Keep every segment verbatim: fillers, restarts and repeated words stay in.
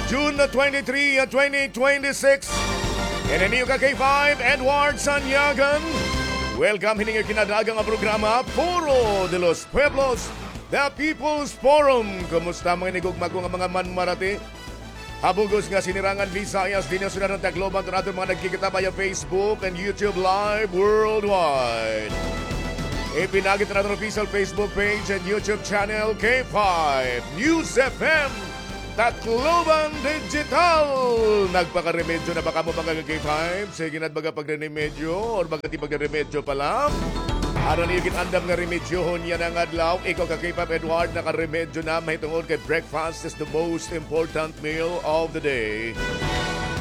June twenty-three, twenty twenty-six. Ini an iyo ka K five, Edward Sanyagan. Welcome hini nga kinadaaga nga programa, Foro de los Pueblos, The People's Forum. Kumusta mga inigugma ko nga mga manmarati? Ha bug-os nga sinirangan Visayas, dinhi ha syudad han Tacloban, han aton mga nagkikita via Facebook and YouTube Live worldwide. Ipinagi han aton official Facebook page and YouTube channel, K five News F M Tacloban Digital. Nagpakaremedyo na ba kamo, mga ka-K five? Sige na it baga pagre-remedyo or baga it iba pagre-remedyo pa la. Ano an iyo gin-andam nga remedyohon yana nga adlaw? Ikaw ka-K five Edward, nakaremedyo na, mahitungod kay breakfast is the most important meal of the day.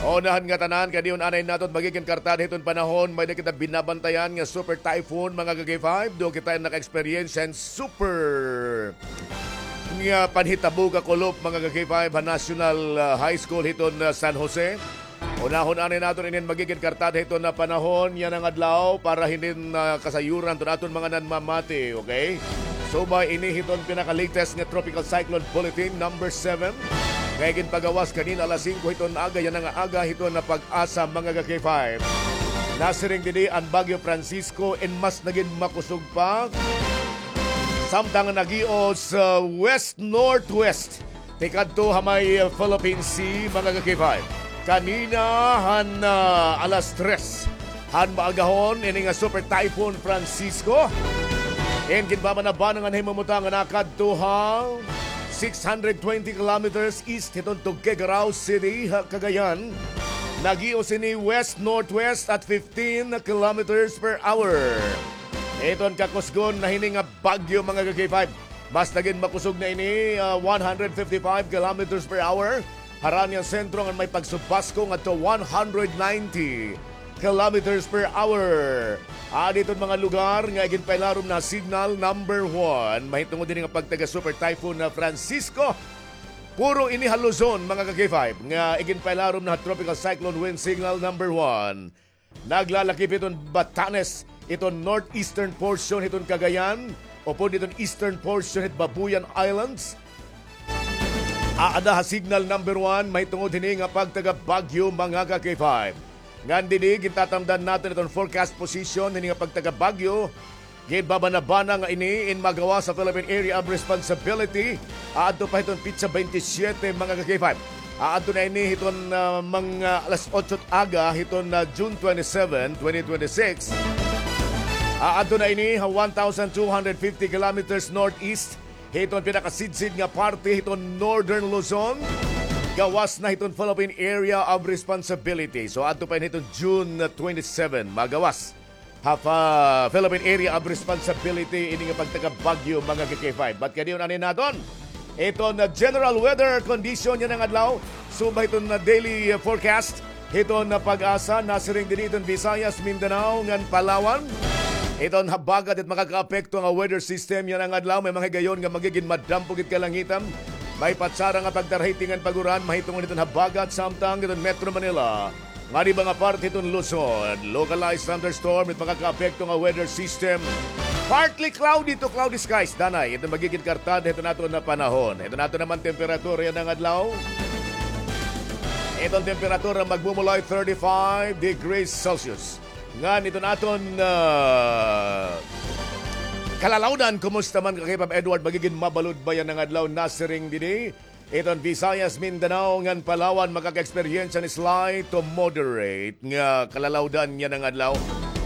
Unahan nga tanan, kay dinhi anay naton magigin kartada hiton panahon, may-ada kita binabantayan nga super typhoon, mga ka-K five. Duol kita naka-experience han super nga panhitabo kakulop, mga ka-K five, ha National, ah, High School hiton, ah, San Jose. Unahon anay naton inin magigin kartada hiton nga panahon yana nga adlaw para hinin, ah, kasayuran hiton aton mga nanmamati, okay? Subay ini hiton pinaka-latest nga Tropical Cyclone Bulletin number seven nga iginpagawas kanina alas singko hiton aga yana nga aga hiton nga pag-asa, mga ka-K five. Nasiring didi an Bagyo Francisco in mas nagin makusog pa. Samtang naghios, ah, west-northwest tikadto ha may, ah, Philippine Sea, mga ka-K five. Kanina han, ah, alas tres han maagahon, ini nga Super Typhoon Francisco in ginbabanabanang an himumutang nga nakadto ha six hundred twenty kilometers east hiton Tuguegarao City, ha Cagayan. Naghios ini west-northwest at fifteen kilometers per hour. Iton kakusgon na hini nga bagyo, mga ka-K five. Mas nagin makusog na ini, ah, one hundred fifty-five kilometers per hour. Harani an sentro ngan may pagsubasko ngadto one hundred ninety kilometers per hour. Adi iton mga lugar nga iginpailarom na signal number one mahitungod hini nga pagtaga Super Typhoon na Francisco. Puro ini ha Luzon, mga ka-K five, nga iginpailarom na ha Tropical Cyclone Wind Signal number one. Naglalakip hiton Batanes, hiton northeastern portion hiton Cagayan, upod hiton eastern portion hit Babuyan Islands. Aada ha signal number one mahitungod hini nga pagtaga bagyo, mga ka-K five. Ngan didi, gintatamdan naton iton forecast position hini nga pagtaga bagyo. Ginbabanabana nga ini in magawas sa Philippine Area of Responsibility aadto pa hiton petsa twenty-seven, mga ka-K five. Aadto na ini hiton, ah, mga alas otso aga hiton, ah, June twenty-seven, twenty twenty-six. Aadto na ini ha one thousand two hundred fifty kilometers northeast hiton pinakasidsid nga parte hiton Northern Luzon. Gawas na hiton Philippine Area of Responsibility. So, adto pa ini hiton June twenty-seven, magawas ha Philippine Area of Responsibility ini nga pagtaga bagyo, mga ka-K five. But kadiyon anay naton iton, uh, general weather condition yana nga adlaw. Subay hiton, uh, daily, uh, forecast hiton, uh, PAGASA, nasiring didi hiton Visayas, Mindanao ngan Palawan. Iton habagat it makakaapekto nga weather system yana nga adlaw, may mga higayon nga magigin madampo gid kalangitan. May patsara nga pagdarahiting ngan pag-uran mahitungod hiton habagat, samtang hiton Metro Manila ngan iba nga parte hiton Luzon, localized thunderstorm it makakaapekto nga weather system. Partly cloudy to cloudy skies danay iton magigin kartada hiton aton nga panahon. Iton aton naman temperatura yana nga adlaw. Iton temperatura magmumulay thirty-five degrees Celsius. Ngan iton aton, ah, kalalawdan, kumusta man ka-K five Edward, magigin mabalod ba yana nga adlaw, nasiring didi iton Visayas, Mindanao ngan Palawan makaka-experience hin slight to moderate nga kalalawdan yana nga adlaw.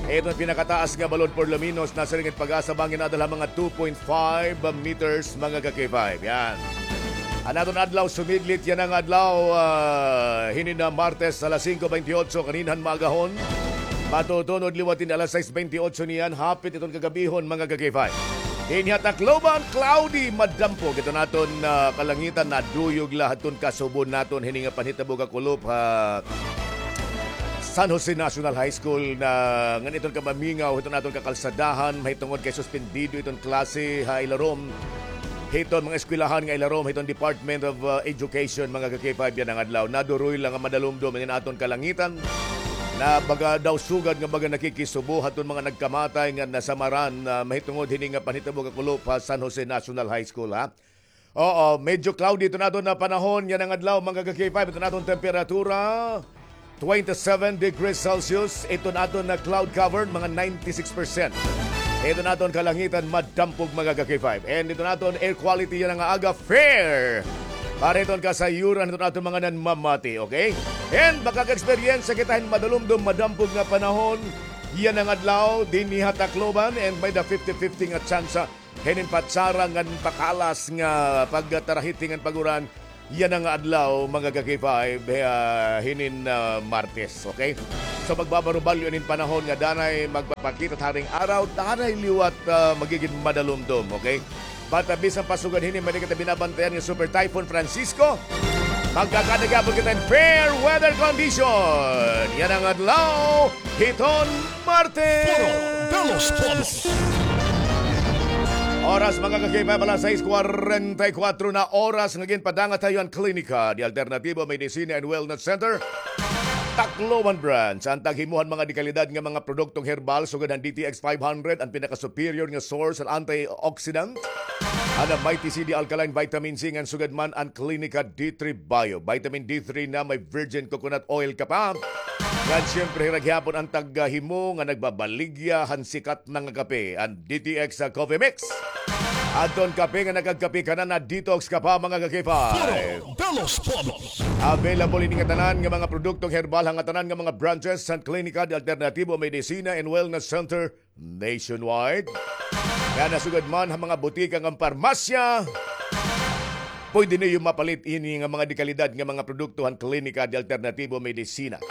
Iton pinakataas nga balod por lo menos nasiring it PAGASA bangin adal ha mga two point five meters, mga ka-K five. Yan. An aton adlaw sumiglit yana nga adlaw, ah, hinin nga Martes alas singko bentiocho kaninhan maagahon. Matutunod liwat hin alas sais bentiocho niyan, hapit iton kagabihon, mga ka-K five. Dinhi ha Tacloban, cloudy, madampo iton aton, ah, kalangitan, naduyog la hiton kasubo naton hini nga panhitabo kakulop ha San Jose National High School na ngan iton kamamingaw hiton aton kakalsadahan mahitungod kay suspendido iton klase ha ilarom hiton mga eskwelahan nga ilarom hiton Department of, ah, Education, mga ka-K five, yana nga adlaw. Naduroy la nga madalumdom inin aton kalangitan. Na baga daw sugad nga baga nakikisubo hiton mga nagkamatay nga nasamaran, ah, mahitungod hini nga panhitabo kakulop ha San Jose National High School, ha. Oo, medyo cloudy iton aton nga panahon yana nga adlaw, mga ka-K five. Iton aton temperatura, twenty-seven degrees Celsius. Iton aton nga cloud cover, mga ninety-six percent. Iton aton kalangitan, madampog, mga ka-K five. And iton aton air quality yana nga aga, fair. Para iton kasayuran iton aton mga nanmamati, okay? And makaka-eksperyensya kita hin madalumdom, madampog nga panahon yana nga adlaw dinhi ha Tacloban, and may-ada fifty fifty nga tsansa hinin patsara ngan pakalas nga pagtarahiti ngan pag-uran yana nga adlaw, mga ka-K five, ah, hinin, ah, Martes, okay? So, magbabarubalyo inin panahon nga danay magpapakita haring araw, danay liwat, ah, magigin madalumdom, okay? But, ah, bisan pa sugad hini, may-ada kita binabantayan nga Super Typhoon Francisco. Magkakada gihapon kita hin fair weather condition yana nga adlaw hiton Martes. Puro de los Todos. Oras, mga ka-K five, alas sais kwarenta y kuwatro na oras nga ginpadangat ha iyo an Klinika de Alternativo Medicina and Wellness Center, Tacloban Branch. An taghimuhan mga dekalidad nga mga produktong herbal, sugad han D T X five hundred, an pinaka-superior nga source han antioxidant, an Mighty C D Alkaline Vitamin C, ngan sugad man an Klinika D three Bio. Vitamin D three na may virgin coconut oil ka pa. Ngan siyempre, hira gihapon an taghimo nga nagbabaligya han sikat na nga kape, an D T X Coffee Mix. Adton kape nga nakagkape ka na, na-detox ka pa, mga ka-K five. Puro de los Todos. Available ini nga tanan nga mga produktong herbal ha ngatanan nga mga branches han Klinika de Alternativo Medicina and Wellness Center nationwide. Kaya nasugad man ha mga butika ngan parmasya, pwede niyo mapalit ini nga mga dekalidad nga mga produkto han Klinika de Alternativo Medicina.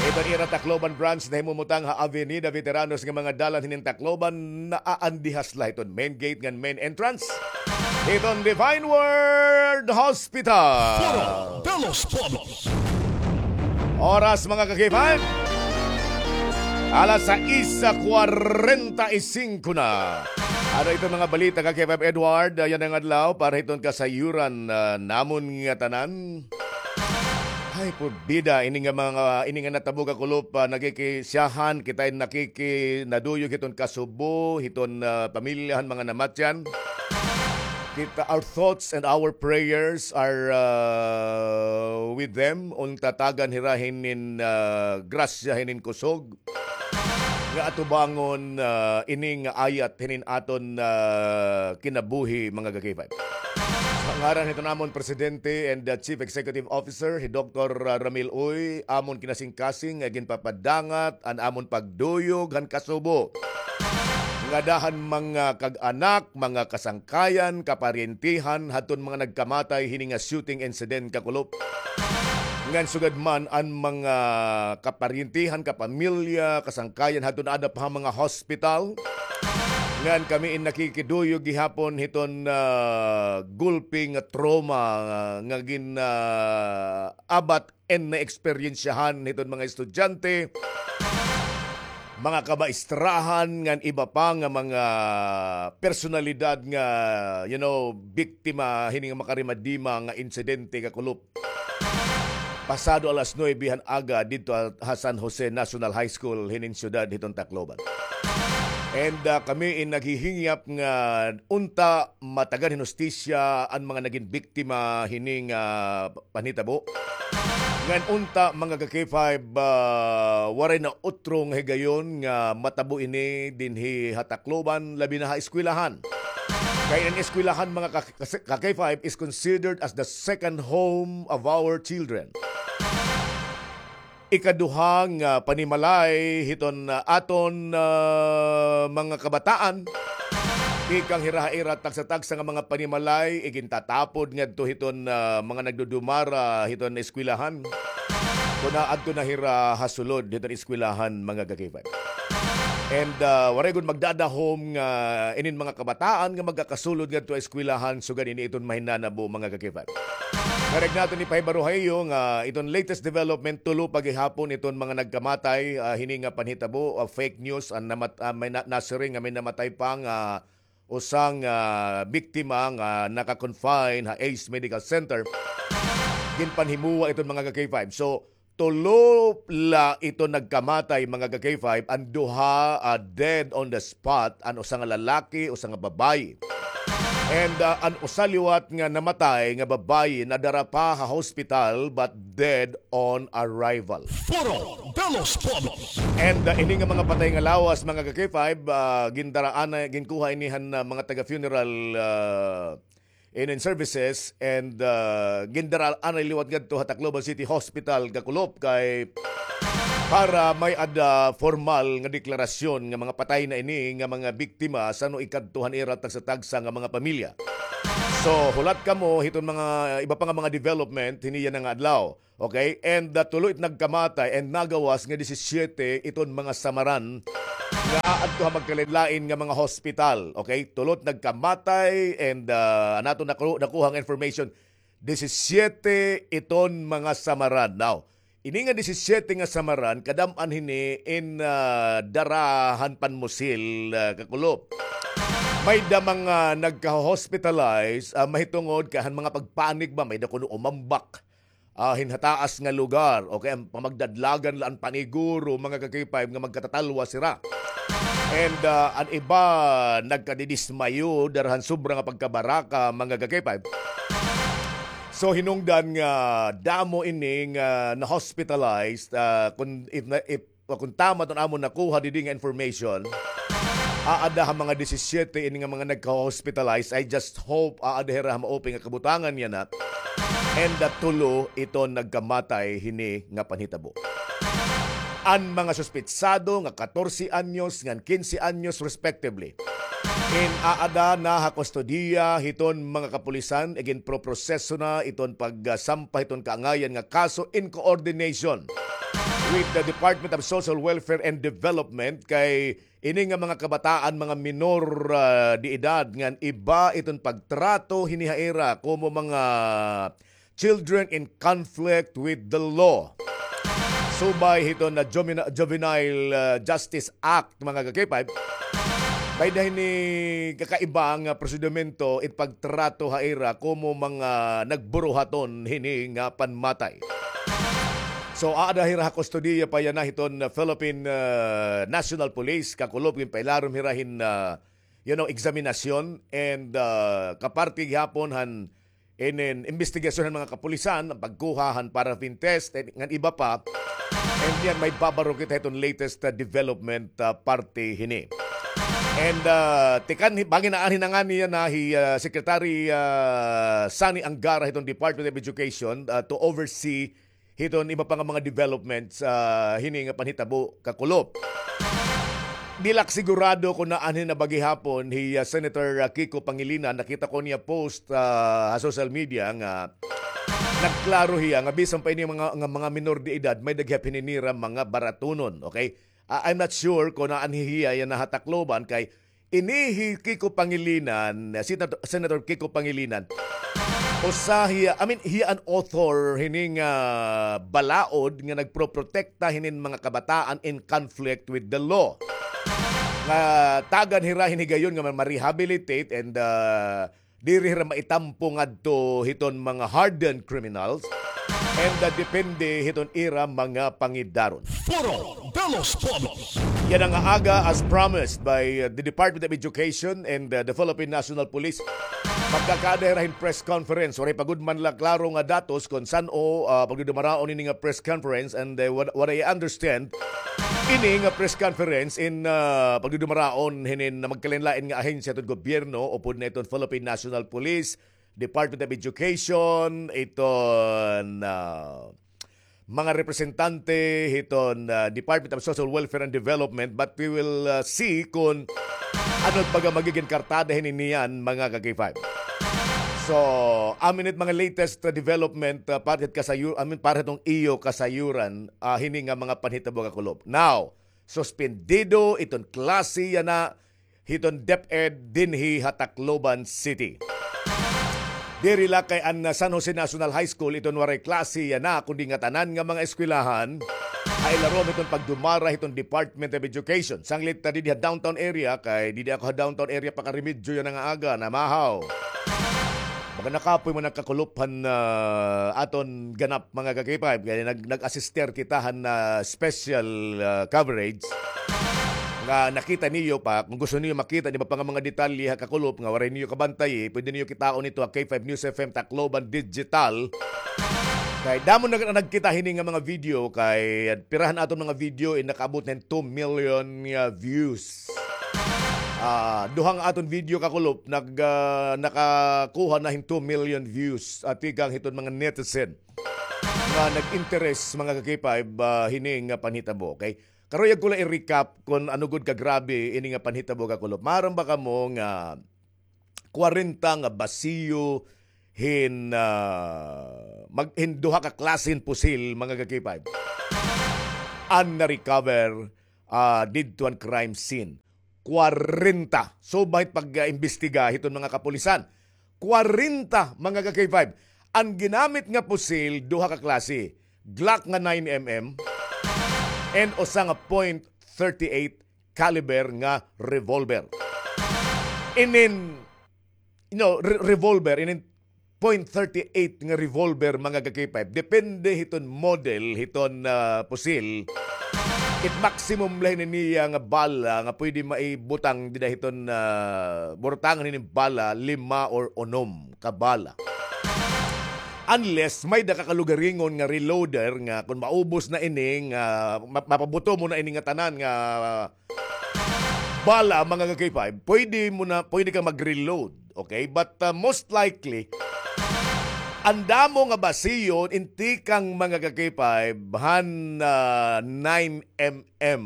Iton ira Tacloban Branch nahimumutang ha Avenida Veteranos nga mga dalan hinin Tacloban, naaandihas la hiton main gate ngan main entrance hiton Divine Word Hospital. Puro de los Todos. Oras, mga ka-K five, alas sais kwarenta y singko na. Ano iton mga balita, ka-K five Edward, ah, yana nga adlaw para hiton kasayuran, ah, namon nga tanan? Ay, porbida, ini nga mga, ini nga natabo, kakulop, ah, nakikisyahan, kita in nakiki-, naduyog hiton kasubo, hiton, ah, pamilya han mga namatyan. Kita, our thoughts and our prayers are, ah, with them. Unta tagan hira hinin, ah, grasya, hinin kusog nga atubangon, ah, ini nga ayat hinin aton, ah, kinabuhi, mga ka-K five. Sa ngaran hiton amon Presidente and, ah, Chief Executive Officer, hi Doktor, ah, Ramil Uy, amon kinasingkasing nga ginpapadangat an amon pagduyog han kasubo ngada han mga kag-anak, mga kasangkayan, kaparyentihan hadton mga nagkamatay hini nga shooting incident, kakulop. Ngan sugad man an mga kaparyentihan, kapamilya, kasangkayan hadton aada pa ha mga hospital. Ngan kami in nakikiduyog gihapon hiton, ah, gulpi nga trauma nga, nga gin, ah, abat and naeksperyensyahan hiton mga estudyante, mga kabaestrahan, ngan iba pa nga mga personalidad nga, you know, biktima hini nga makarimadima nga insidente, kakulop. Pasado alas nuebe han aga didto ha, ha San Jose National High School hinin syudad hiton Tacloban. And, ah, kami in naghihingyap nga unta matagan hin hustisya an mga nagin biktima hini nga panhitabo. Ngan unta, mga ka-K five, ah, waray na utro nga higayon nga matabo ini dinhi ha Tacloban, labi na ha eskwelahan. Kay an eskwelahan, mga ka-, ka-K five, is considered as the second home of our children. Ikaduha nga panimalay hiton, ah, aton, ah, mga kabataan. Tikang hira ha ira tagsa-tagsa nga mga panimalay, igintatapod ngadto hiton, ah, mga nagdudumara hiton eskwelahan. Kon adto na hira ha sulod hiton eskwelahan, mga ka-K five. And, ah, waray gud magdadahom nga inin mga kabataan nga magkakasulod ngadto ha eskwelahan, sugad ini iton mahinanabo, mga ka-K five. Karuyag naton ipahibaro ha iyo nga iton latest development, tulo pa gihapon iton mga nagkamatay, ah, hini nga panhitabo, ah, fake news, an namat-, ah, may na-, nasiring nga may namatay pa nga usa nga biktima nga naka-confine ha Ace Medical Center. Ginpanhimuwa iton, mga ka-K five. So, tulo la ito nagkamatay, mga ka-K five, an duha, ah, dead on the spot, an usa nga lalaki, usa nga babaye. And, ah, an usa liwat nga namatay nga babayi nadara pa ha hospital but dead on arrival. Foro de los Pueblos. And, ah, ini nga mga patay nga lawas, mga ka-K five, ah, gindara anay, ginkuha ini han, ah, mga taga-funeral, ah, inin services, and, ah, gindara anay liwat ngadto ha Tacloban City Hospital, kakulop, kay para may-ada formal nga deklarasyon nga mga patay na ini nga mga biktima san-o ikadto han ira tagsa-tagsa nga mga pamilya. So, hulat kamo hiton mga iba pa nga mga development hini yana nga adlaw. Okay? And, ah, tulo it nagkamatay and nagawas nga disisiete iton mga samaran nga aadto ha magkalain-lain nga mga hospital. Okay? Tulo it nagkamatay and, ah, an aton naku-, nakuha nga information, disisiete iton mga samaran. Now, ini nga disisiete nga samaran, kadam-an hini in, ah, dara han panmusil, ah, kakulop. May-ada mga nagka-hospitalize, ah, mahitungod kay han mga pagpanik ba, may-ada kuno umambak, ah, hin hataas nga lugar, o kay an pamagdadlagan la an paniguro, mga ka-K five, nga magkatatalwas hira. And, ah, an iba nagkadidismayo dara han sobra nga pagkabaraka, mga ka-K five. So, hinungdan nga damo ini nga na-hospitalized, ah, kun, if na, if, kun tama iton amon nakuha didi nga information, aada ha mga disisiete ini nga mga nagka-hospitalize. I just hope aada hira ha maupay nga kabutangan yana. And, ah, tulo iton nagkamatay hini nga panhitabo. An mga suspetsado nga katorse anyos ngan kinse anyos respectively, in aada na ha kustodiya hiton mga kapulisan, iginproproseso na iton pagsampa hiton kaangayan nga kaso in coordination with the Department of Social Welfare and Development, kay ini nga mga kabataan, mga minor, ah, de edad, ngan iba iton pagtrato hini ha ira komo mga children in conflict with the law. Subay hiton na Juveni-, Juvenile, ah, Justice Act, mga ka-K five, may-ada hini kakaiba nga prosedimento it pagtrato ha ira komo mga nagburuhaton hini nga panmatay. So, aada hira ha kustodiya pa yana hiton Philippine, ah, National Police, kakulop, ginpailarom hira hin, ah, you know, eksaminasyon and, ah, kaparte gihapon han inin imbestigasyon han mga kapulisan, an pagkuha han paraffin test, eh, ngan iba pa. And yan, may babaro kita hiton latest, ah, development, ah, parte hini. And, ah, tikang hi, bangin na an hinangani yana hi, ah, Secretary, ah, Sonny Angara hiton Department of Education, ah, to oversee hiton iba pa nga mga developments, ah, hini nga panhitabo, kakulop. Diri la ak sigurado kon aanhi na ba gihapon hi, ah, Senator, ah, Kiko Pangilinan. Nakita ko niya post, ah, ha social media nga nagklaro hiya nga bisan pa ini mga, nga mga minor de edad, may-ada gihap hini nira mga baratunon, okay? Ah, I'm not sure kon aanhi hiya yana ha Tacloban kay ini hi Kiko Pangilinan, Senator, Senator Kiko Pangilinan, usa hiya, I mean, hiya an author hini nga balaod nga nagproprotekta hinin mga kabataan in conflict with the law. Nga tagan hira hin higayon nga ma-rehabilitate and, ah, diri hira maitampo ngadto hiton mga hardened criminals and, ah, depende hiton ira mga pangidaron. Foro de los Pueblos. Yana nga aga, as promised by, uh, the Department of Education and, uh, the Philippine National Police, magkakaada hira hin press conference. Waray pa gud man la klaro nga datos kon san-o, uh, pagdudumaraon ini nga press conference, and, uh, what, what I understand, ini nga press conference in, uh, pagdudumaraon hinin magkalain-lain nga ahensya hiton gobyerno, upod na iton Philippine National Police, Department of Education, iton, uh, mga representante hiton, ah, Department of Social Welfare and Development, but we will, ah, see kon ano it baga magigin kartada hini niyan, mga ka-K five. So, amin it mga latest, ah, development, ah, para hit kasayu-, amin para hitong iyo kasayuran, ah, hini nga mga panhitabo, kakulop. Now, suspendido iton klase yana hiton DepEd dinhi ha Tacloban City. Diri la kay an, ah, San Jose National High School iton waray klase yana, kundi ngatanan nga mga eskwelahan ha ilarom hiton pagdumara hiton Department of Education. Sanglit ta didi ha downtown area, kay didi ako ha downtown area, pakaremedyo yana nga aga, namahaw. Baga nakapoy man nagkakulop han, ah, aton ganap, mga ka-K five, kay nag-, nag-assister kita han, ah, special, ah, coverage. nga nakita niyo pa, kung gusto niyo makita an iba pa nga mga detalye ha kakulop nga waray niyo kabantayi, pwede niyo kitaon ito ha K five News F M Tacloban Digital. Kay damo na nagkita hini nga mga video, kay pira han aton mga video in nakaabot na hin two million nga views. Ah, duha nga aton video kakulop nag, ah, nakakuha na hin two million views, ah, tikang hiton mga netizen nga nag-interes, mga ka-K five, ah, hini nga panhitabo, okay? Karuyag ko la i-recap kon ano gud kagrabe ini nga panhitabo, kakulop. Maaram ba kamo nga kwarenta nga basiyo hin, ah, mag-, hin duha ka klase hin pusil, mga ka-K five, an na-recover, ah, didto han crime scene? Kwarenta. So, bahit pag, ah, imbestiga hiton mga kapulisan. Kwarenta, mga ka-K five. An ginamit nga pusil, duha ka klase. Glock nga nine M M and usa nga point thirty eight caliber nga revolver. Inin, you know, re-, revolver, inin point thirty eight nga revolver, mga ka-K five. Depende hiton model hiton, ah, pusil. It maximum la hini niya nga bala nga pwede maibutang dida hiton, ah, butangan hini bala, lima or unom ka bala. Unless may da ka kalugaringon nga reloader nga kung maubos na ini nga ma-, mapabuto mo na ini nga tanan nga bala, mga ka-K five, pwede mo na, pwede ka mag-reload, okay? But, uh, most likely, an damo nga basiyo in tikang, mga ka-K five, han, uh, nine M M.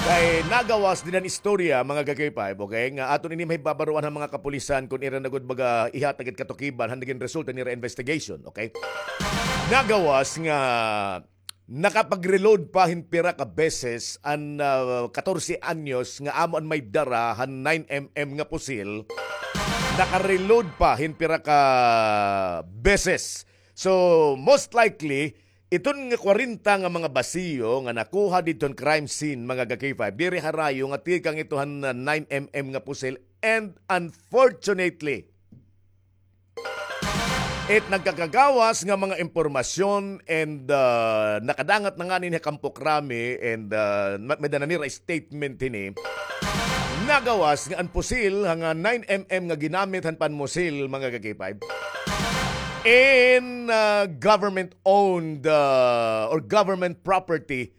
Kay nagawas dida han istorya, mga ka-K five, okay, nga aton ini mahibabaroan han mga kapulisan kon ira na gud baga ihatag it katukiban han nagin resulta nira investigation, okay? Nagawas nga nakapag-reload pa hin pira ka beses an, ah, katorse anyos nga amo an may dara han nine M M nga pusil. Naka-reload pa hin pira ka beses. So, most likely, iton nga kwarenta nga mga basiyo nga nakuha didton crime scene, mga ka-K five, diri harayo nga tikang ito han, ah, nine M M nga pusil. And unfortunately, it nagkakagawas nga mga impormasyon and, ah, nakadangat na ngani ha Kampo Krami and, ah, ma-, may-ada na nira statement hini. Nagawas nga an pusil ha nga nine M M nga ginamit han panmusil, mga ka-K five, in, ah, government-owned, ah, or government property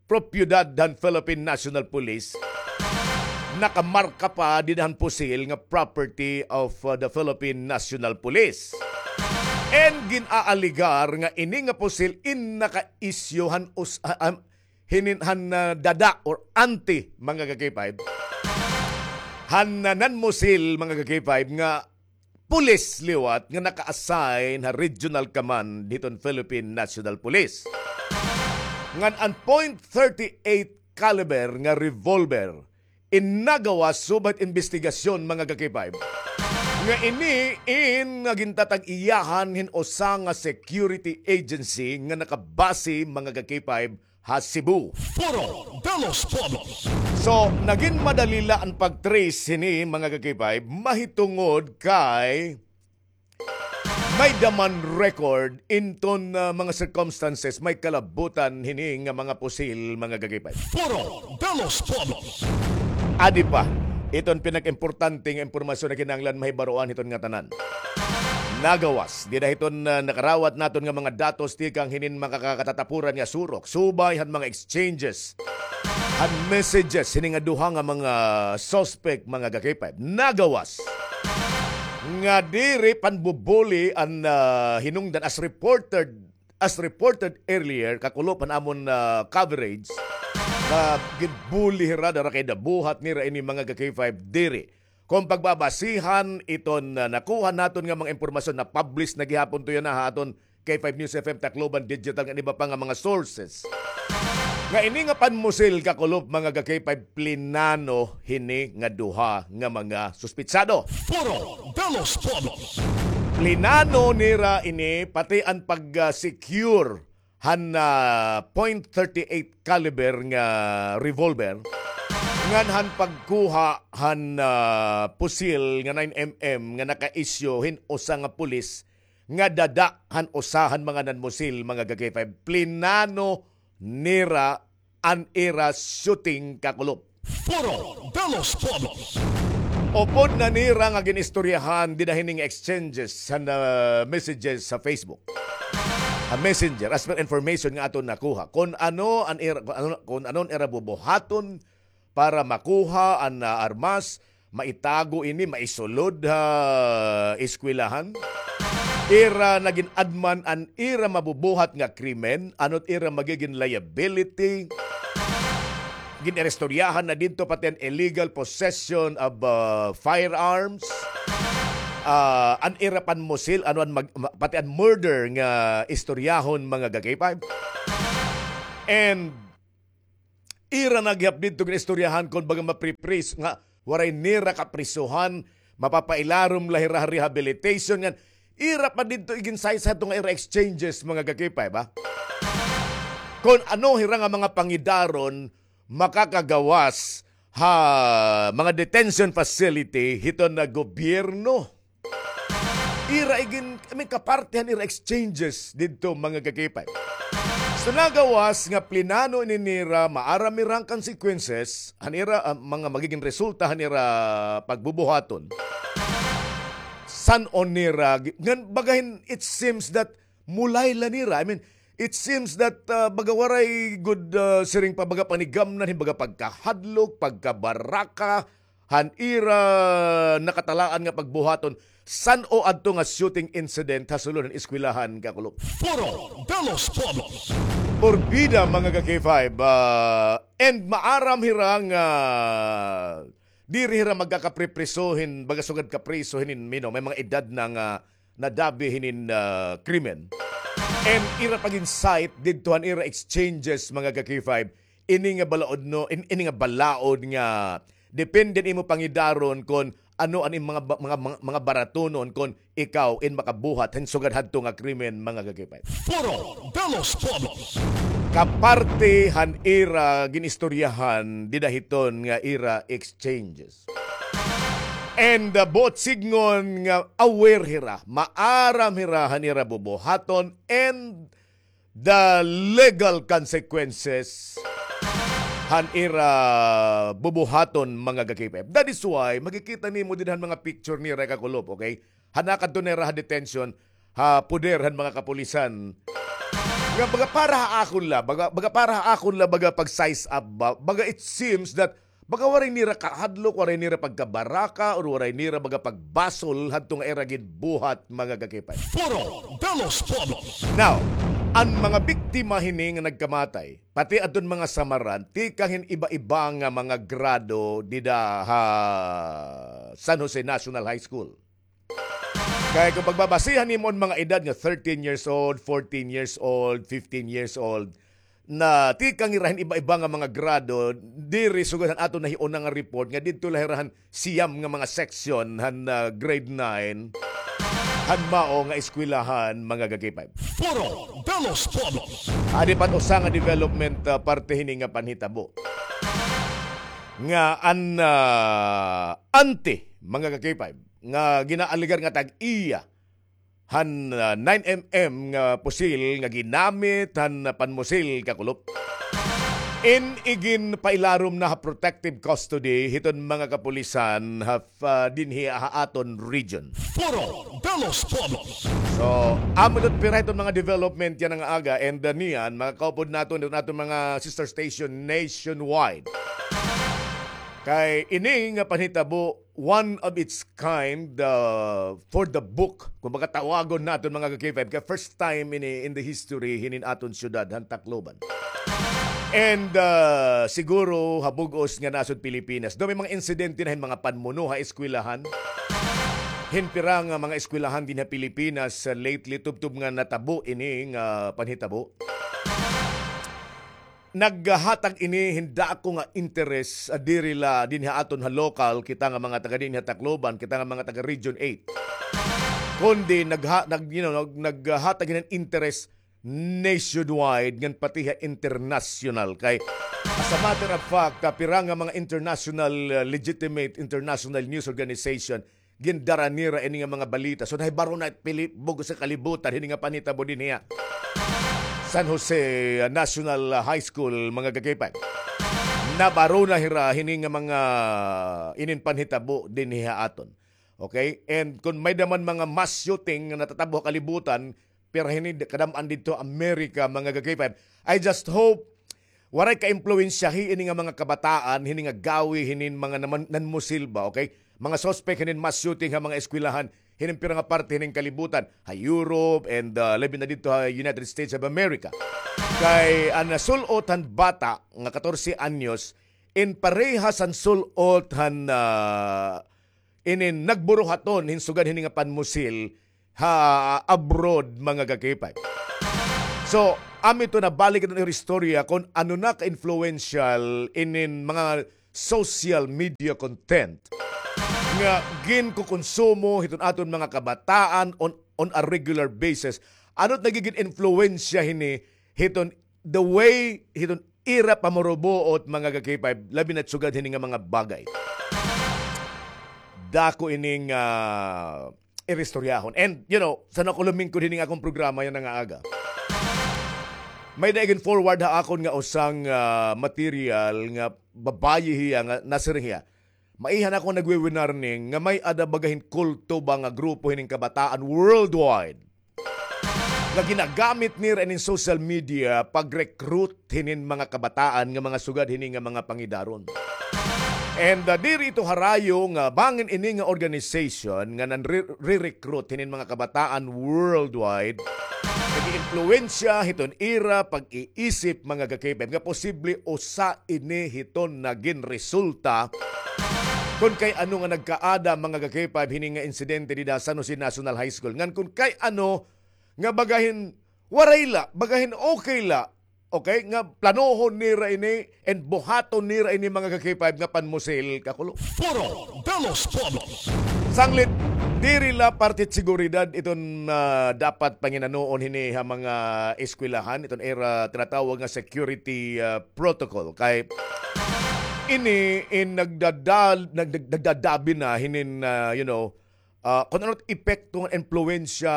propiedad han Philippine National Police, nakamarka pa dida han pusil nga property of, uh, the Philippine National Police. And gin-aaligar nga ini nga pusil in naka-issue han us-, ha-, han, hinin, han, uh, dada or auntie, mga ka-K five, han, uh, nanmusil, mga ka-K five, nga pulis liwat nga naka-assign ha Regional Command hiton Philippine National Police. Ngan an point thirty-eight caliber nga revolver in nagawas subat imbestigasyon, mga ka-K five, nga ini in nga gintatag-iyahan hin usa nga security agency nga nakabase, mga ka-K five, ha Cebu. Foro de los Pueblos. So, nagin madali la an pag-trace hini, mga ka-K five, mahitungod kay may-ada man record inton, ah, mga circumstances, may kalabutan hini nga mga pusil, mga ka-K five. Foro de los Pueblos. Adi pa, iton pinakaimportante nga impormasyon nga kinahanglan mahibaroan hiton ngatanan. Nagawas dida hiton, ah, nakarawat naton nga mga datos tikang hinin mga kakatatapuran nga surok, subay han mga exchanges han messages hini nga duha nga mga suspect, mga ka-K five. Nagawas nga diri panbubuli an, ah, hinungdan as reported, as reported earlier, kakulop han amon, ah, coverage, nga ginbuli hira dara kay nabuhat nira ini, mga ka-K five, diri. Kon pagbabasihan iton, ah, nakuha naton nga mga impormasyon, na-publish na gihapon to yana ha aton K five News F M Tacloban Digital ngan iba pa nga mga sources, nga ini nga panmusil, kakulop, mga ka-K five, plinano hini nga duha nga mga suspitsado. Foro de los Pueblos. Plinano nira ini, pati an pag, ah, secure han, ah, point thirty-eight caliber nga revolver, ngan han pagkuha han, ah, pusil nga nine M M nga naka-issue hin usa nga pulis nga dada han usa han mga nanmusil, mga ka-K five. Plinano nira an ira shooting, kakulop. Foro de los Pueblos. Upod na nira nga gin-istoryahan dida hini nga exchanges han, ah, messages sa Facebook. Ha Messenger, as per information nga aton nakuha. Kon ano an ira, kon ano, kon ano an ira bubuhaton para makuha an, ah, armas, maitago ini, maisulod ha eskwelahan. Ira na gin-adman an ira mabubuhat nga krimen, ano't ira magigin liability. Gin-iristoryahan na didto pati an illegal possession of, ah, firearms. Ah, an ira panmusil, ano an mag-, ma-, pati an murder nga istoryahon, mga ka-K five. And ira na gihap didto gin-istoryahan kon baga mapripriso nga waray nira kaprisohan, mapapailarom la hira ha rehabilitation ngan ira pa didto igin-cite hadto nga ira exchanges, mga ka-K five, ha? Kon ano hira nga mga pangidaron makakagawas ha mga detention facility hiton nga gobyerno. Ira igin, I mean, kaparte han ira exchanges didto, mga ka-K five. So, nagawas nga plinano ini nira, maaram nira an consequences han ira, ah, mga magigin resulta han ira pagbubuhaton. San-o nira, gi-, ngan bagahin, it seems that mulay la nira. I mean, it seems that, ah, baga waray gud, ah, siring pa baga panigamnan, hin baga pagkahadlok, pagkabaraka, han ira nakatalaan nga pagbuhaton, san-o adto nga shooting incident ha sulod han eskwelahan, kakulop. Foro de los Pueblos. Porbida, mga ka-K five, ah, and maaram hira nga diri hira magkakapripriso hin, baga sugad kapriso hinin, you know, may mga edad na nga nadabi hinin, ah, krimen. And ira pagin-cite didto han ira exchanges, mga ka-K five, ini nga balaod, no, in-, ini nga balaod nga depende an imo pangidaron kon ano an im mga ba-, mga, mga, mga baratunon kon ikaw in makabuhat hin sugad hadto nga krimen, mga ka-K five. Foro de los Pueblos. Kaparte han ira gin-istoryahan dida hiton nga ira exchanges. And, uh, buot sidngon nga aware hira, maaram hira han ira bubuhaton and the legal consequences han ira bubuhaton, mga ka-K five. That is why makikita nimo dida han mga picture nira, kakulop, okay? Han nakadto nira ha detention, ha poder han mga kapulisan. Nga baga para ha akon la, baga, baga para ha akon la, baga pag-size up ba, baga it seems that baga waray nira kahadlok, waray nira pagkabaraka, or waray nira baga pagbasol hadto nga ira ginbuhat, mga ka-K five. Foro de los Pueblos. Now, an mga biktima hini nga nagkamatay, pati adton mga samaran, tikang hin iba-iba nga mga grado dida ha San Jose National High School. Kay kon pagbabasihan nimo an mga edad nga thirteen years old, fourteen years old, fifteen years old, na tikang hira hin iba-iba nga mga grado, diri sugad han aton nahiuna nga report nga didto la hira han siyam nga mga section han, ah, grade nine, han mao nga eskwelahan, mga ka-K five. Foro de los Pueblos. Adi pa an usa nga development, ah, parte hini nga panhitabo. Nga an, ah, auntie, mga ka-K five, nga ginaalegar nga tag-iya han, ah, nine M M nga pusil nga ginamit han panmusil, kakulop. In iginpailarom na ha protective custody hiton mga kapulisan ha, ah, dinhi ha aton region. Foro de los Pueblos. So, amo ito pira hiton mga development yana nga aga, and, ah, niyan, makakaupod naton hiton aton mga sister station nationwide. Kay ini nga panhitabo, one of its kind, uh, for the book. Kumbaga, tawagon naton, mga ka-K five, kay first time ini in the history hinin aton syudad han Tacloban. And, uh, siguro ha bug-os nga nasod Pilipinas, daw may mga insidente na hin mga panmuno ha eskwelahan. Hin pira nga mga eskwelahan dinhi ha Pilipinas, uh, lately, tubtob nga natabo ini nga panhitabo. Naghatag ini hin dako nga interes, ah, diri la dinhi ha aton ha lokal, kita nga mga taga dinhi ha Tacloban, kita nga mga taga Region eight. Kundi nagha-, nag-, you know, nag-, naghatag hin interes nationwide ngan pati ha international. Kay, as a matter of fact, ah, pira nga mga international, ah, legitimate international news organization gindara nira ini nga mga balita. So, nahibaro na pili-, bug-os nga kalibutan hini nga panhitabo dinhi ha San Jose, uh, National, uh, High School, mga ka-K five. Nabaro na hira hini nga mga inin panhitabo dinhi ha aton. Okay? And kon may-ada man mga mass shooting nga natatabo ha kalibutan, pero hini kadam-an didto America, mga ka-K five. I just hope waray ka-impluwensyahi ini nga mga kabataan, hini nga gawi, hinin mga naman, nanmusil ba, okay? Mga suspect hinin mass shooting ha mga eskwelahan, hinin pira nga parte hinin kalibutan, ha Europe, and, ah, labi na didto ha United States of America. Kay an nasul-ot han bata nga katorse anyos, in parehas han sul-ot han, ah, inin nagburuhaton hin sugad hini nga panmusil ha abroad, mga ka-K five. So, amo ito, nabalik iton istorya kon ano na ka-influential inin mga social media content nga ginkukonsumo hiton aton mga kabataan on, on a regular basis. Ano it nagigin influensya hini hiton the way hiton ira pamurubuot, mga ka-K five, labi na sugad hini nga mga bagay. Dako ining, ah, iristoryahon. And, you know, san ako lumingkod hini nga akon programa yana nga aga, may-ada igin-forward ha akon nga usang, ah, material nga babayi hiya nga nasiring hiya, maiha na ako nagwi-winarning nga may-ada baga hin kulto ba nga grupo hinin kabataan worldwide nga ginagamit nira inin social media pag-recruit hinin mga kabataan nga mga sugad hini nga mga pangidaron. And, ah, diri ito harayo nga bangin ini nga organization nga nanre-, re-recruit hinin mga kabataan worldwide, nag-iimpluwensya hiton ira pag-iisip, mga ka-K five, nga posible usa ini hiton nagin resulta kon kay ano nga nagkaada, mga ka-K five, hini nga insidente dida ha San Jose National High School. Ngan kon kay ano nga baga hin waray la, baga hin okay la, okay, nga planohon nira ini and buhaton nira ini, mga ka-K five, nga panmusil, kakulop. Foro de los Pueblos. Sanglit, diri la parte hit seguridad iton, ah, dapat panginanoon hini ha mga eskwelahan, iton ira tinatawag nga security, ah, protocol. Kay ini in nagdadal-, nag-, nag-, nagdadabi na hinin, ah, you know, ah, kon ano it epekto ngan impluwensya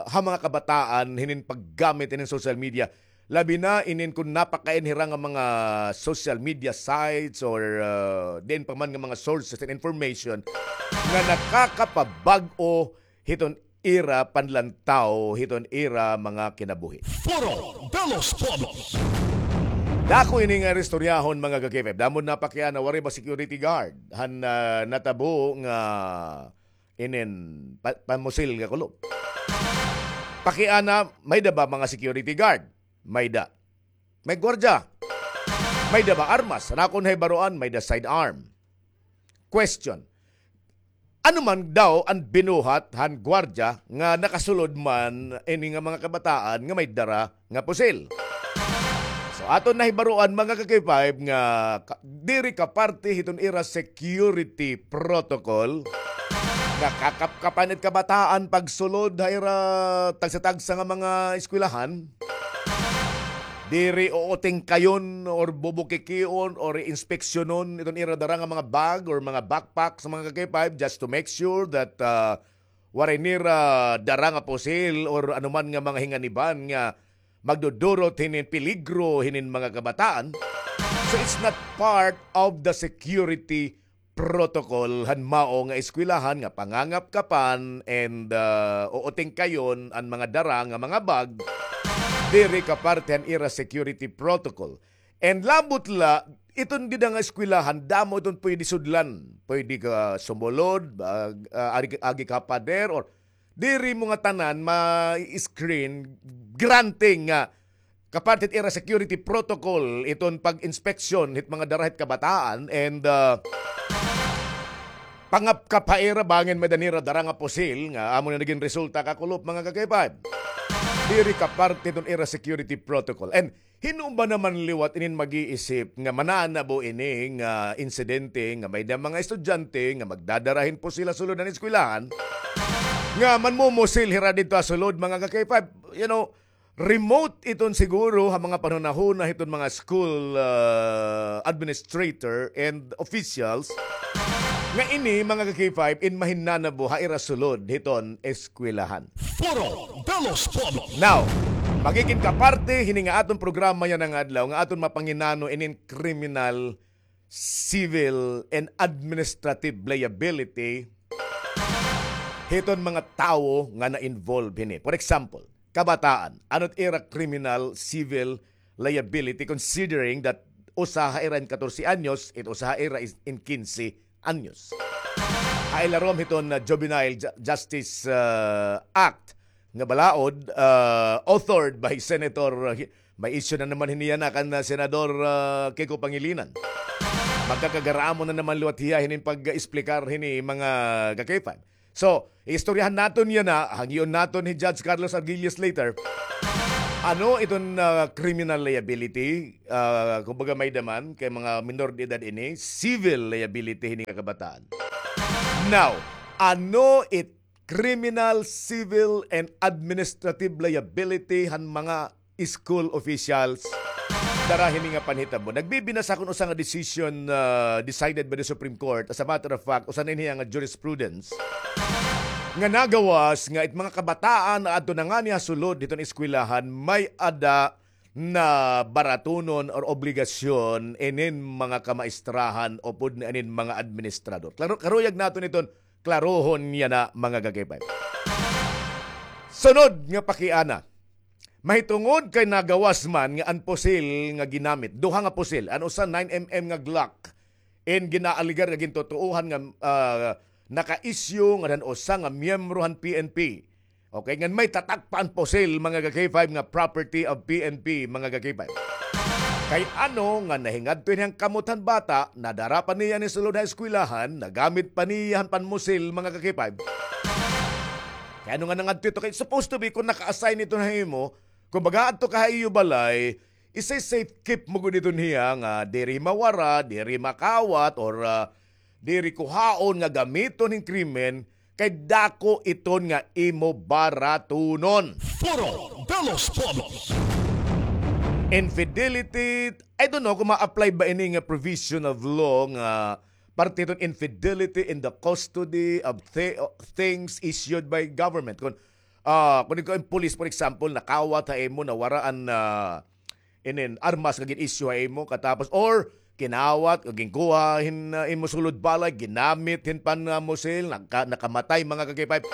ha mga kabataan hinin paggamit hinin social media. Labi na inin kon napakain hira nga mga social media sites or, ah, diin pa man nga mga sources and information nga nakakapabag-o hiton ira panlantaw, hiton ira mga kinabuhi. Foro de los Pueblos. Dako ini nga istoryahon, mga ka-K five. Damo napakiana, waray ba security guard han, ah, natabo nga inin pa-, pamusil nga kulop. Pakiana, may-da ba mga security guard? May-da. May gwardiya? May-da ba armas? An akon nahibaroan, may-da sidearm. Question. Ano man daw an binuhat han gwardiya nga nakasulod man ini nga mga kabataan nga may dara nga pusil. So, aton nahibaroan, mga ka-K five, nga ka-, diri ka parte hiton ira security protocol nga kakapkapan it kabataan pagsulod ha ira tagsa-tagsa nga mga eskwelahan. Diri uutingkayon or bubukikion or inspeksyonon iton ira dara nga mga bag or mga backpack sa mga ka-K five just to make sure that, ah, waray nira dara nga pusil or anuman nga mga hinganiban nga magdudurot hinin peligro hinin mga kabataan. So it's not part of the security protocol han mao nga eskwelahan nga pangangapkapan and, ah, uutingkayon an mga dara nga mga bag. Diri ka parte han ira security protocol. And labot la, iton dida nga eskwelahan, damo iton pwede sudlan. Pwede ka sumulod, ag-, ah, agi, agi ka pader, or diri mo ngatanan ma-screen, granting nga kaparte hit ira security protocol iton pag-inspeksyon hit mga dara hit kabataan, and, ah, pangapkap ha ira bangin may-ada nira dara nga pusil nga amo na nagin resulta, kakulop, mga ka-K five. Diri ka parte iton ira security protocol. And hin-o ba naman liwat inin mag-iisip nga mananabo ini nga insidente nga may-ada mga estudyante nga magdadara hin pusil ha sulod han eskwelahan nga manmumusil hira didto ha sulod, mga ka-K five? You know, remote iton siguro ha mga panhunahuna hiton mga school, ah, administrator and officials nga ini, mga ka-K five, in mahinanabo ha ira sulod hiton eskwelahan. Foro de los Pueblos. Now, magigin ka parte hini nga aton programa yana nga adlaw nga aton mapanginano inin civil and administrative liability hiton mga tawo nga na-involve hini. For example, kabataan, ano it ira criminal, civil liability, considering that usa ha ira in katorse anyos, it usa ha ira is in kinse anyos. Ha ilarom hiton, uh, Juvenile Ju-, Justice, uh, Act nga balaod, uh, authored by Senator, uh, hi-, may issue na naman hini yana kan, uh, Senador, uh, Kiko Pangilinan. Magkakagaramon na naman liwat hiya hinin pag-explicar hini mga ka-K five. So, istoryahan naton yana, hangyoon naton hi Judge Carlos Arguelles later. Ano iton, uh, criminal liability? Uh, kumbaga may daman kay mga minor de edad ini, civil liability hini nga kabataan. Now, ano it criminal, civil, and administrative liability han mga school officials dara hini nga panhitabo? Nagbibinasa kon usa nga decision, uh, decided by the Supreme Court. As a matter of fact, usa na ini nga jurisprudence nga nagawas nga it mga kabataan nga adto na ngani ha sulod hiton eskwelahan may-ada na baratunon or obligasyon inin mga kamaestrahan upod na inin mga administrador. Klaro, karuyag naton iton klarohon yana, mga ka-K five. Sunod nga pakiana. Mahitungod kay nagawas man nga an pusil nga ginamit, duha nga pusil, an usa nine M M nga Glock, in ginaalegar nga gintutuohan nga, ah, naka-issue ngadto han usa nga miyembro han P N P. Okay, ngan may tatak pa an pusil, mga ka-K five, nga property of P N P, mga ka-K five. Kay ano nga nahingadto ini han kamot han bata, nadara pa niya ini sulod ha eskwelahan, nagamit pa niya han panmusil, mga ka-K five. Kay ano nga nangadto ito? Kay supposed to be, kung naka-assign ito ha imo, kumbaga adto ka ha iyo balay, isa-safe keep mo gud iton hiya nga diri mawara, diri makawat, or, ah, diri kuhaon nga gamiton hin krimen, kay dako iton nga imo baratunon. Foro de los Pueblos. Infidelity, I don't know kung ma-apply ba ini nga provision of law nga parte iton infidelity in the custody of thi-, things issued by government. Kung, ah, kung ikaw an police, for example, nakawat ha imo, nawara an, ah, inin armas nga gin-issue ha imo, katapos, or kinawat o ginkuha hin, uh, imo sulod balay, ginamit hin panmusil, nagka-, nakamatay, mga ka-K five.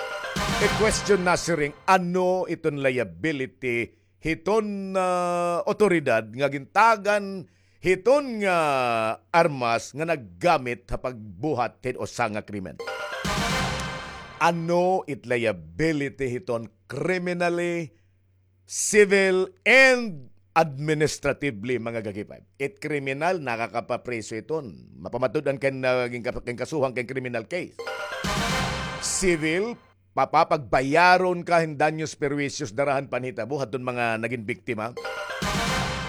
I-question na siring, ano iton liability hiton, uh, otoridad nga gintagan hiton nga armas nga naggamit ha pagbuhat hin usa nga krimen? Ano it liability hiton criminally, civil, and administratively, mga ka-K five? It criminal, nakakapapriso iton. Mapamatud-an ka nga naging kap-, kasuhan ka hin criminal case. Civil, papapagbayaron ka hin danyos perjuicios dara han panhitabo hadton mga naging biktima.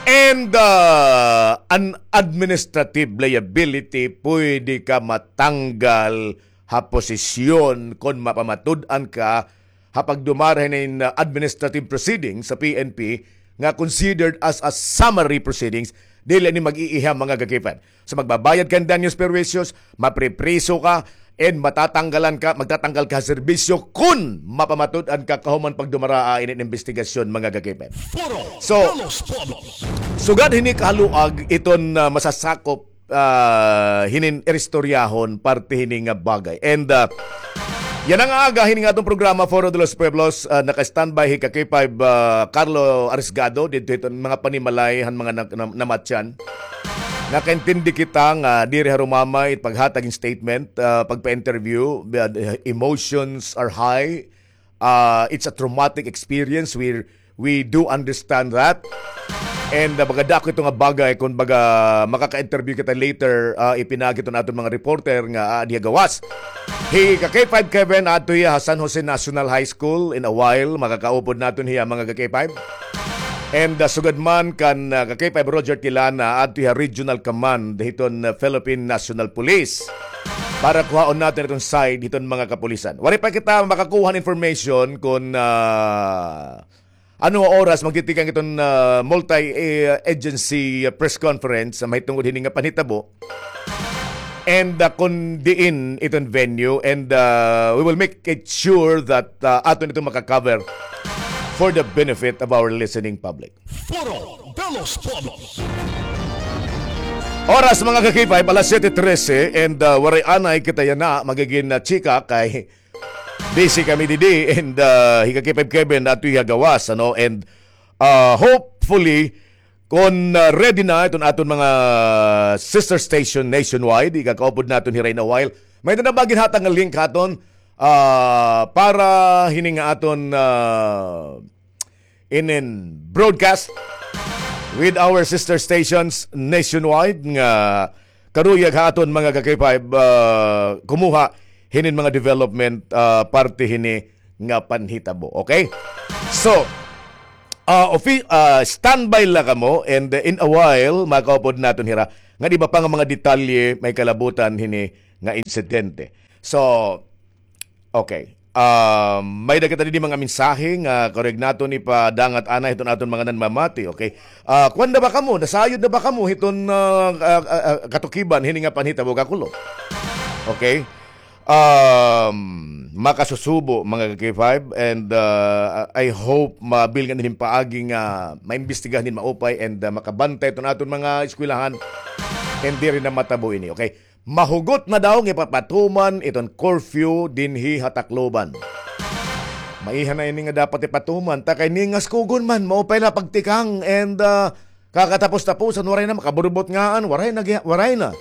And, uh, an administrative liability, pwede ka matanggal ha posisyon kon mapamatud-an ka ha pagdumara hinin, uh, administrative proceedings sa P N P nga considered as a summary proceedings, dili ni mag-iiha, mga ka-K five. So, magbabayad ka hin danyos perjuicios, mapripriso ka, and matatanggalan ka, magtatanggal ka ha serbisyo kon mapamatud-an ka kahuman pagdumaraa inin imbestigasyon, mga ka-K five. So, sugad hini kahaluag iton, uh, masasakop ah, hinin iristoryahon parte hini nga bagay. And, ah, yana nga aga, hini nga aton programa, Foro de los Pueblos, ah, naka-standby hi ka-K five, ah, Carlo Arisgado, didto hiton mga panimalay han mga na-, na-, namatyan. Nakaintindi kita nga diri harumamay it paghatag hin statement, ah, pagpa-interview, ah, emotions are high, ah, it's a traumatic experience. We, we do understand that. And, ah, baga dako ito nga bagay kon baga makaka-interview kita later, ah, ipinaagi ito naton mga reporter nga aadi ha gawas. Hi ka-K five Kevin, adto hiya ha San Jose National High School. In a while, makakaupod naton hiya, mga ka-K five. And, ah, sugad man kan, ah, ka-K five Roger Tilana, adto hiya Regional Command hiton, ah, Philippine National Police. Para kuhaon naton iton side hiton mga kapulisan. Waray pa kita makakuha hin information kon, ah, ano nga oras magtitikang iton, ah, multi-, eh, agency, ah, press conference sa mahitungod hini nga panhitabo. And, ah, kon diin iton venue, and, ah, we will make it sure that, ah, aton ito maka-cover for the benefit of our listening public. Foro de los Pueblos. Oras, mga ka-K five, alas siyete trese, and, uh, waray anay kita yana magigin na chika kay busy kami didi, and, uh, hi ka-K five Kevin ato ha gawas, ano, and, uh, hopefully, kon, uh, ready na iton aton mga sister station nationwide, ikakaupod naton hira in a while. May na ba ginhatag nga link haton, uh, para hini nga aton, uh, inin broadcast with our sister stations nationwide nga karuyag ha aton mga ka-K five, ah, kumuha hinin mga development, ah, parte hini nga panhitabo. Okay? So, ah, ofi-, ah, standby la kamo, and, uh, in a while, makaupod naton hira nga iba pa nga mga detalye may kalabutan hini nga insidente. So, okay. Um, may-ada kita didi mga mensahe nga karuyag naton ipadangat anay hiton aton mga nanmamati, okay? Ah, kuan na ba kamo? Nasayod na ba kamo hiton, ah, ah, ah, ah, katukiban hini nga panhitabo, kakulo? Okay? Um, makasusubo, mga ka-K five, and, ah, I hope mabilngan hinin paagi nga maimbestigahan hin maupay and, ah, makabantay iton aton mga eskwelahan and diri na matabo ini, okay? Mahugot na daw nga ipapatuman iton curfew dinhi ha Tacloban. Maiha na ini nga dapat ipatuman. Ta kay ningas kugon man, maupay la pagtikang and, ah, kakatapos-tapusan, waray na makaburbot ngaan, waray na, gi- waray na.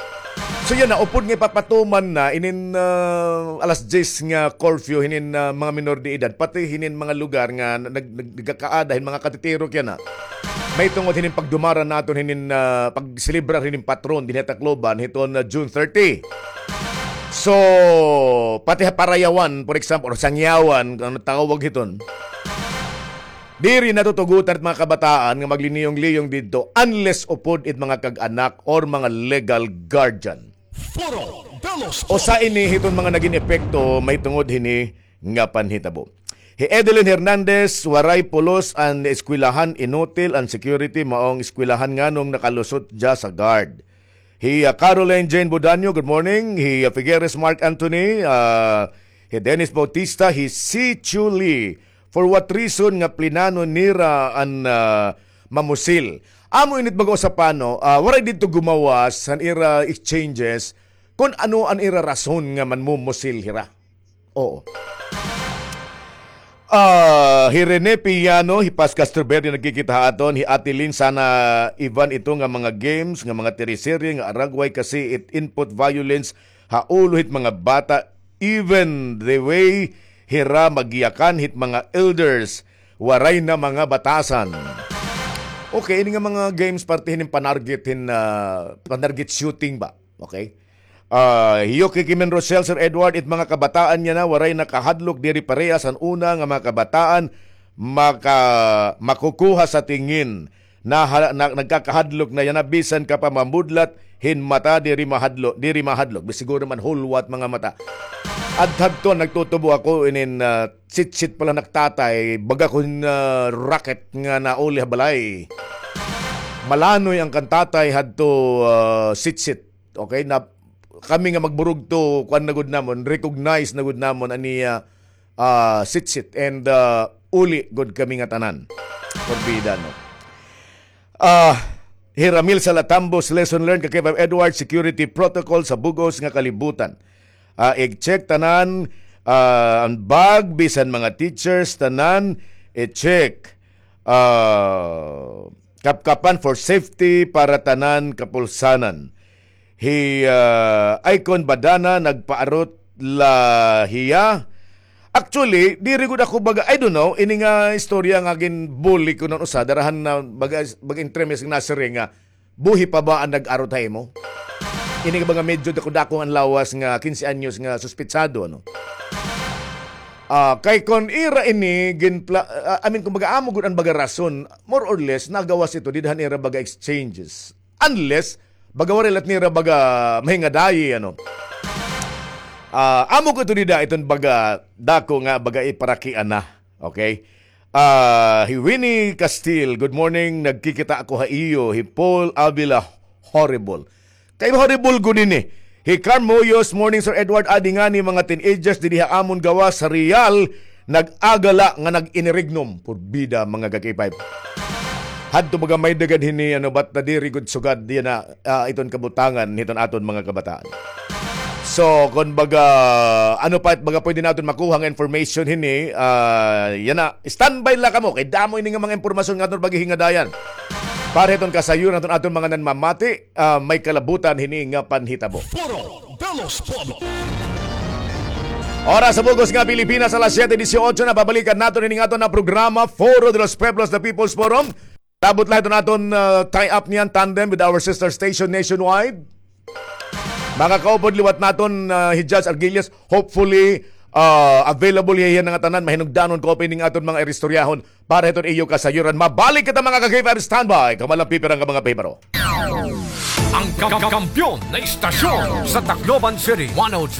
So yana, upod nga ipapatuman na inin, ah, alas diyes nga curfew hinin, ah, mga minor de edad, pati hinin mga lugar nga nag-, nag-, nagkakaada hin mga katitiro kay yana. May tungod hinin pagdumara naton hinin, ah, pagselebrar hinin patron dinhi ha Tacloban hiton, ah, June thirty. So, pati ha Parayawan, for example, or Sangyawan, kon ano tawag hiton, diri natutugotan it mga kabataan nga magliniyong-liyong didto unless upod it mga kag-anak or mga legal guardian. Usa ini hiton mga nagin epekto mahitungod hini nga panhitabo. Hi Edelyn Hernandez, waray pulos an eskwelahan, inutil an security, maong eskwelahan nganong nakalusot dya sa guard. Hi, ah, Caroline Jane Budanyo, good morning. Hi, ah, Figueres Mark Anthony, ah, hi Dennis Bautista, hi Si Chu Lee. For what reason nga plinano nira an, ah, mamusil? Amo ini it baga usa pa, no, ah, waray didto gumawas han ira exchanges kon ano an ira rason nga manmumusil hira. Oo. Ah, hi Rene Pillano, hi Paz Castroverde nagkikita ha aton, hi Ate Lynn, sana iban ito nga mga games, nga mga teleserye, nga aragway kasi it input violence ha ulo hit mga bata, even the way hira magyakan hit mga elders, waray na mga batasan. Okay, ini nga mga games parte hinin panarget hin, ah, panarget shooting ba? Okay? Ah, Yuki Kimen Rochelle, Sir Edward, it mga kabataan niya na, waray nakahadlok diri parehas an una nga mga kabataan maka-, makukuha sa tingin. Na, na, nagkakahadlok na yana bisan ka pa mamudlat hin mata diri mahadlo-, diri mahadlok. Bis siguro man hulwat mga mata. Adhadto nagtutubo ako inin, ah, sitsit pala nak tatay, baga kon, ah, rocket nga nauli ha balay. Malanoy an kan tatay hadto, ah, sitsit. Okay, na kami nga magburugto, kuan na gud namon, recognize na gud namon an iya, ah, sitsit, and, ah, uli gud kami nga tanan. Porbida, no? Ah, hi Ramil Salatambos, lesson learned, ka K five Edward, security protocol sa bug-os nga kalibutan. Ah, i-check tanan, ah, an bag, bisan mga teachers, tanan, i-check. Ah, kapkapan for safety para tanan kapulsanan. Hi, ah, Icon Badana, nagpaarot la hiya. Actually, diri gud ako baga, I don't know, ini nga istorya nga ginbully ko nan usa, darahan na baga, baga entremes nga nasiring nga, buhi pa ba an nag-arot ha imo? Ini nga baga medyo dako-dako an lawas nga quince anyos nga suspetsado, ano? Ah, kay kon ira ini ginpla-, ah, I mean, kumbaga, amo gud an baga rason, more or less, nagawas ito dida han ira baga exchanges. Unless, baga waray la it nira baga mahingadayi, ano. Ah, amo ko ito dida, iton baga dako nga baga iparakiana. Okay? Ah, hi Winnie Castile, good morning. Nagkikita ako ha iyo. Hi Paul Avila, horrible. Kay horrible gud ini. Hi Carm Hoyos, morning, Sir Edward. Adi ngani mga teenagers didi ha amon gawas sa Real, nag-agala nga nag-inirignom. Porbida, mga ka-K five. Hadto baga may dagad hini, ano, bat nadiri gud sugad yana, ah, iton kabutangan hiton aton mga kabataan. So, kon baga, ano pa it baga pwede naton makuha nga information hini, ah, yana, standby la kamo, kay damo ini nga mga impormasyon nga aton paghihingadayan. Para hiton kasayuran hiton aton mga nanmamati, ah, may kalabutan hini nga panhitabo. Foro de los Pueblos. Oras sa bug-os nga Pilipinas, alas siyete dieciocho na, pabalikan naton ini nga aton nga programa, Foro de los Pueblos, the People's Forum. Labot la hiton aton, ah, tie-up niyan, tandem with our sister station nationwide. Makakaupod liwat naton, ah, hi Judge Arguelles. Hopefully, ah, available hiya hiya nga tanan, mahinungdanon ko pa ini nga aton mga iristoryahon para hiton iyo kasayuran. Mabalik kita, mga ka-K five, standby. Kamo la an pipira nga mga pahibaro. Ang kam- kampiyon na istasyon sa Tacloban City, one oh three